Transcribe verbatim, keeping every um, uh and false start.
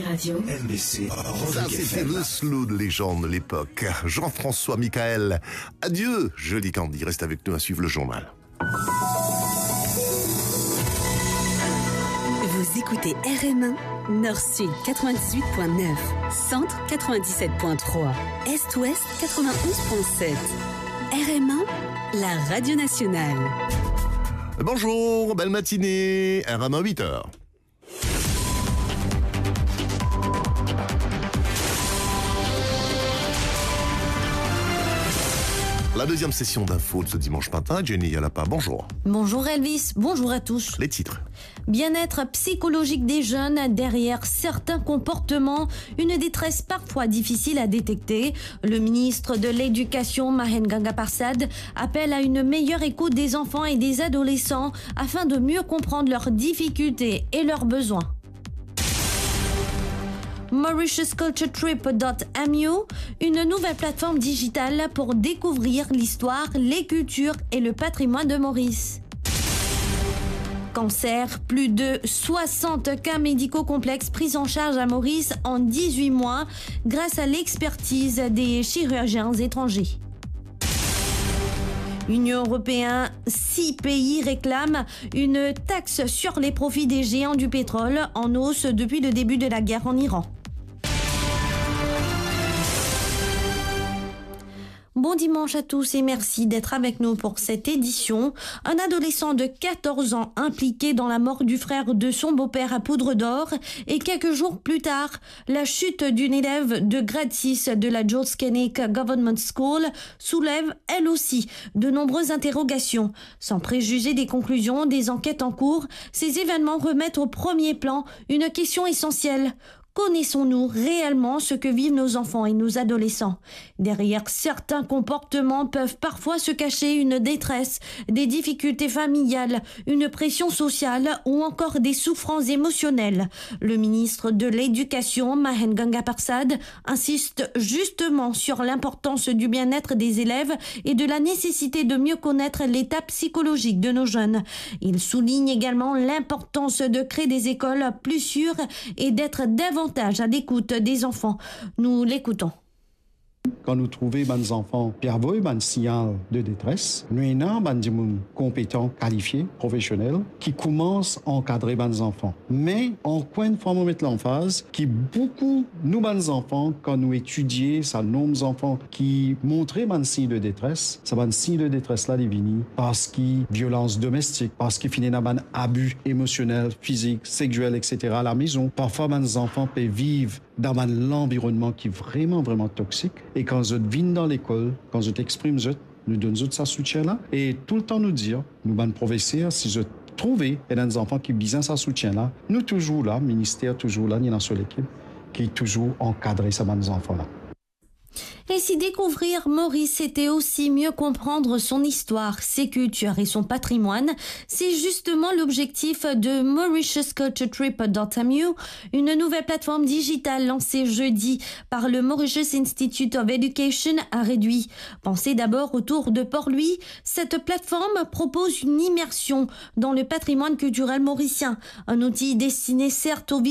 Radio. M B C, ça, c'était le slow de légende de l'époque. Jean-François Michael. Adieu, joli Candy. Reste avec nous à suivre le journal. Vous écoutez R M un, Nord-Sud quatre-vingt-dix-huit point neuf, Centre quatre-vingt-dix-sept point trois, Est-Ouest quatre-vingt-onze point sept. R M un, la radio nationale. Bonjour, belle matinée. R M un, huit heures. La deuxième session d'info de ce dimanche matin, Jenny Yalapa, bonjour. Bonjour Elvis, bonjour à tous. Les titres. Bien-être psychologique des jeunes, derrière certains comportements, une détresse parfois difficile à détecter. Le ministre de l'Éducation, Mahen Gangaparsad, appelle à une meilleure écoute des enfants et des adolescents afin de mieux comprendre leurs difficultés et leurs besoins. Mauritius Culture Trip dot M U, une nouvelle plateforme digitale pour découvrir l'histoire, les cultures et le patrimoine de Maurice. Cancer, plus de soixante cas médicaux complexes pris en charge à Maurice en dix-huit mois grâce à l'expertise des chirurgiens étrangers. Union européenne, six pays réclament une taxe sur les profits des géants du pétrole en hausse depuis le début de la guerre en Iran. Bon dimanche à tous et merci d'être avec nous pour cette édition. Un adolescent de quatorze ans impliqué dans la mort du frère de son beau-père à Poudre d'Or et quelques jours plus tard, la chute d'une élève de grade six de la George Keinec Government School soulève, elle aussi, de nombreuses interrogations. Sans préjuger des conclusions des enquêtes en cours, ces événements remettent au premier plan une question essentielle. Connaissons-nous réellement ce que vivent nos enfants et nos adolescents ? Derrière certains comportements peuvent parfois se cacher une détresse, des difficultés familiales, une pression sociale ou encore des souffrances émotionnelles. Le ministre de l'Éducation, Mahen Gangaparsad, insiste justement sur l'importance du bien-être des élèves et de la nécessité de mieux connaître l'état psychologique de nos jeunes. Il souligne également l'importance de créer des écoles plus sûres et d'être davantage à l'écoute des enfants. Nous l'écoutons. Kan nou trouve bann zanfan pe avoy bann signal de détresse, nou ena bann dimoun konpetan, kalifie, profesionel, ki koumans ankadre bann zanfan. Me ankor enn fwa, mo met lanfaz ki boukou nou bann zanfan, kan nou etidie sa nonb zanfan ki montre bann sign de détresse, sa bann sign de détresse la, li vini parski violans domestik, parski finn ena bann abi emosionel, fizik, seksuel, et cetera lamezon. Parfwa bann zanfan pe viv dan bann lanvironnman ki vreman, vreman toksik. E kan zot vinn dan lekol, kan zot exprim zot, nou donn zot sa soutien la. E toultan nou dir, nou bann profeser, si zot trouve ena enn zanfan ki bizin sa soutien la, nou touzour la, minister touzour la, nou ena so lekip ki touzour ankadre sa bann zanfan la. Ainsi, découvrir Maurice, c'était aussi mieux comprendre son histoire, ses cultures et son patrimoine. C'est justement l'objectif de Mauritius Culture Trip dot M U, une nouvelle plateforme digitale lancée jeudi par le Mauritius Institute of Education à Réduit. Pensée d'abord autour de Port-Louis, cette plateforme propose une immersion dans le patrimoine culturel mauricien, un outil destiné certes aux